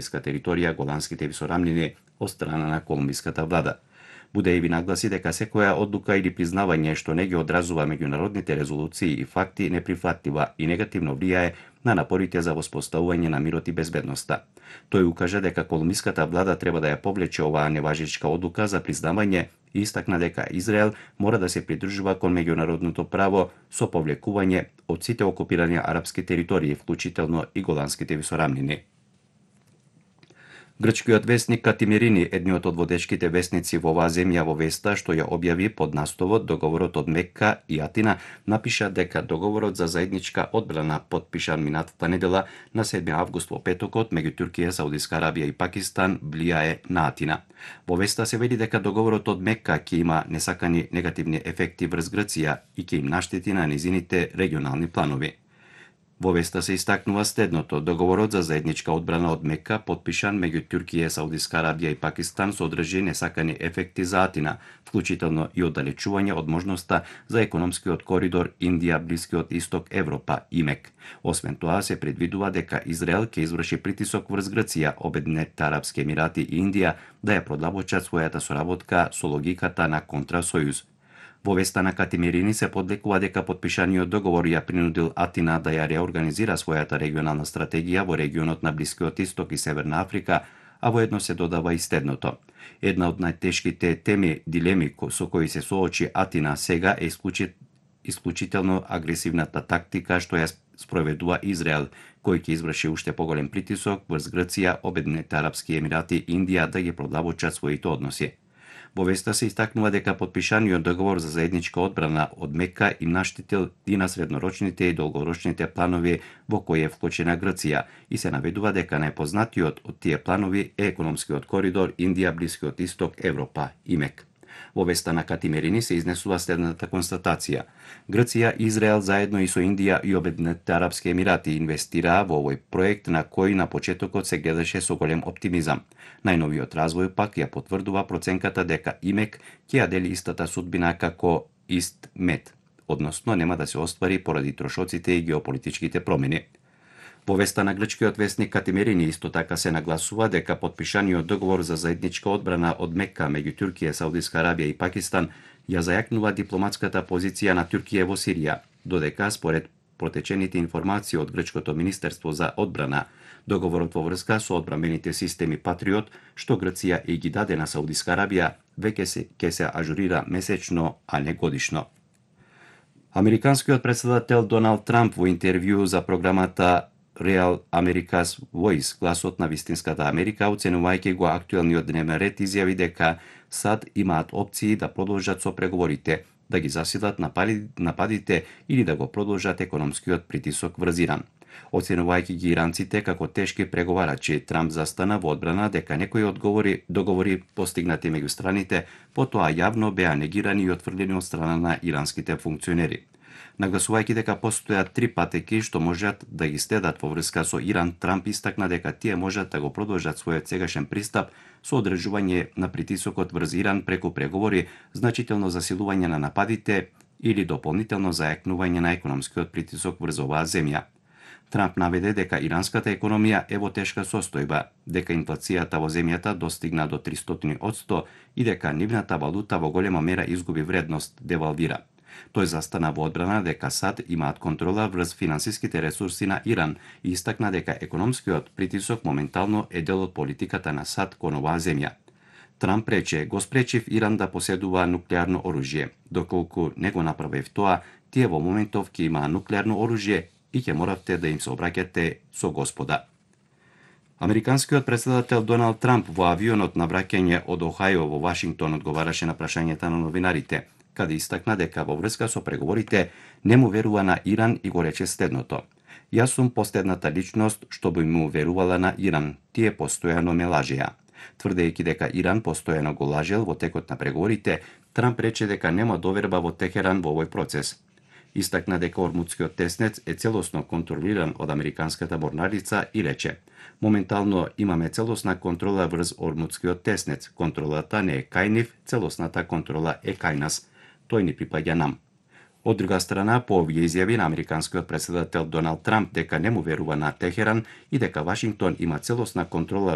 територија Голанските висорамнини од страна на колумбиската влада. Будееви нагласи дека секоја одлука или признавање што не ги одразува меѓународните резолуции и факти неприфатлива и негативно влијае на напорите за воспоставување на мирот и безбедноста. Тој укажа дека колумбиската влада треба да ја повлече оваа неважечка одлука за признавање и истакна дека Израел мора да се придржува кон меѓународното право со повлекување од сите окупирани арапски територии, вклучително и Голанските висорамнини. Грчкиот весник Катимирини, едниот од водечките весници во оваа земја, во веста што ја објави под насловот Договорот од Мекка и Атина, напиша дека договорот за заедничка одбрана подпишан минатата недела на 7 август во петокот меѓу Туркија, Саудиска Арабија и Пакистан влијае на Атина. Во веста се вели дека договорот од Мекка ќе има несакани негативни ефекти врз Грција и ќе им наштети на низините регионални планови. Во веста се истакнува следното: договорот за заедничка одбрана од Мекка, подпишан меѓу Туркија, Саудиска Арабија и Пакистан, содржи несакани ефекти за Атина, вклучително и оддалечување од можноста за економскиот коридор Индија, Блискиот Исток, Европа, ИМЕК. Освен тоа, се предвидува дека Израел ќе изврши притисок врз Грција, Обединетите арапски емирати и Индија да ја продлабочат својата соработка со логиката на контрасојуз. Во веста на Катимирини се подлекува дека подпишаниот договор ја принудил Атина да ја реорганизира својата регионална стратегија во регионот на Блискиот Исток и Северна Африка, а воедно се додава и следното: една од најтешките дилеми со кои се соочи Атина сега е исклучително агресивната тактика што ја спроведува Израел, кој ќе изврши уште поголем притисок врз Грција, Обединетите арапски емирати и Индија да ги продлабочат своите односи. Во веста се истакнува дека подпишаниот договор за заедничка одбрана од Мекка им наштетил и на среднорочните и долгорочните планови во кои е вклучена Грција и се наведува дека најпознатиот од тие планови е економскиот коридор Индија, Блискиот Исток, Европа, ИМЕК. Во веста на Катимирини се изнесува следната констатација: Грција и Израел заедно и со Индија и Обединетите арапски емирати инвестираа во овој проект на кој на почетокот се гледаше со голем оптимизам. Најновиот развој пак ја потврдува проценката дека ИМЕК ќе ја дели истата судбина како ИСТ-МЕД, односно нема да се оствари поради трошоците и геополитичките промени. Во веста на грчкиот весник Катимирини исто така се нагласува дека подпишаниот договор за заедничка одбрана од Мекка меѓу Туркија, Саудиска Арабија и Пакистан ја зајакнува дипломатската позиција на Туркија во Сирија, додека според протечените информации од грчкото министерство за одбрана, договорот во врска со одбранбените системи Патриот, што Грција и ги даде на Саудиска Арабија, веќе ќе се ажурира месечно, а не годишно. Американскиот претседател Доналд Трамп во интервју за програмата Real America's Voice, гласот на вистинската Америка, оценувајќи го актуелниот дневен ред, изјави дека САД имаат опции да продолжат со преговорите, да ги засилат нападите или да го продолжат економскиот притисок врз Иран. Оценувајќи ги иранците како тешки преговарачи, Трамп застана во одбрана дека некои договори постигнати меѓу страните потоа јавно беа негирани и отфрлени од страна на иранските функционери. Нагласувајќи дека постојат три патеки што можат да ги следат во врска со Иран, Трамп истакна дека тие можат да го продолжат својот сегашен пристап со одржување на притисокот врз Иран преку преговори, значително засилување на нападите или дополнително зајакнување на економскиот притисок врз оваа земја. Трамп наведе дека иранската економија е во тешка состојба, дека инфлацијата во земјата достигна до 300% и дека нивната валута во голема мера изгуби вредност, девалвира. Тој застана во одбрана дека САД имаат контрола врз финансиските ресурси на Иран и истакна дека економскиот притисок моментално е дел од политиката на САД кон оваа земја. Трамп рече: го спречив Иран да поседува нуклеарно оружје. Доколку не го направив тоа, тие во моментов ќе имаа нуклеарно оружје и ќе моравте да им се обраќате со Господа. Американскиот претседател Доналд Трамп во авионот на враќање од Охајо во Вашингтон одговараше на прашањата на новинарите, каде истакна дека во врска со преговорите не му верува на Иран и го рече следното: јас сум последната личност што би му верувала на Иран, тие постојано ме лажеа. Тврдејќи дека Иран постојано го лажел во текот на преговорите, Трамп рече дека нема доверба во Техеран во овој процес. Истакна дека Ормудскиот теснец е целосно контролиран од американската морнарица и рече: моментално имаме целосна контрола врз Ормудскиот теснец, контролата не е кај нив, целосната контрола е кај нас. Тој ни припаѓа нам. Од друга страна, по овие изјави на американскиот претседател Доналд Трамп дека не му верува на Техеран и дека Вашингтон има целосна контрола